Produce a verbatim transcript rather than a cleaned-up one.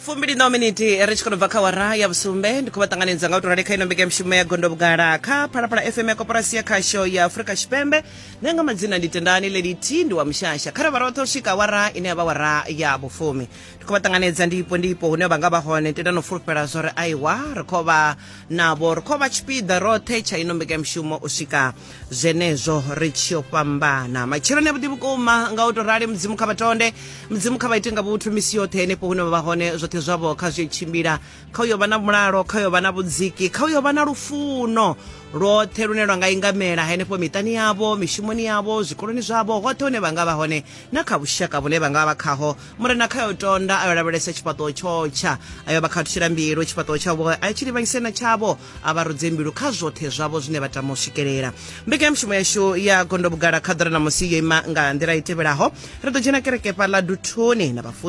Fumbili na miniti ri tshi khou bva kha wara ya vhusumbe. Ndi khou vha ṱanganedza nga u tou rali kha ino mbekanyamushumo ya Gondo Vhugala kha Phalaphala F M ya Koporasi ya Khasho ya Afrika Tshipembe. Nṋe nga madzina ndi Tendani Lady T, ndi wa Mushasha. Kha ri vha roṱhe u swika wara ine ya vha wara ya vhufumi. Ndi khou vha ṱanganedza ndipo ndipo hune vha nga vha hone, tenda no fulufhela zwori aiwa ri khou vha navho, ri khou vha tshipiḓa roṱhe tsha ino mbekanyamushumo u swika zwenezwo ri tshi yo fhambana. Matsheloni avhuḓi vhukuma nga u tou rali, Mudzimu kha vha tonde, Mudzimu kha vha ite nga vhuthu misi yoṱhe henefho hune vha vha hone, zwoṱhe zwavho kha zwi tshimbila, kha u yo vha na mulalo, kha u yo vha na vhudziki, kha u yo vha na lufuno lwoṱhe lune lwa nga ingamela henefho miṱani yavho, mishumoni yavho, zwikoloni zwavho, hoṱhe hune vha nga vha hone na kha vhushaka vhune vha nga vha khaho. Murena kha yo tonda a yo lavhelesa tshifhaṱuwo tshotsha, a yo vha khathutshela mbilu, tshifhaṱuwo tshavho a tshi livhanyise na tshavho, a vha rudze mbilu kha zwoṱhe zwavho zwine vha tama u swikelela. Mbekanyamushumo yashu ya Gondo Vhugala kha ḓora ṋamusi yo ima nga nḓila i tevhelaho. Ri ḓo dzhena kereke fhaḽa Duthuni na vhafunzi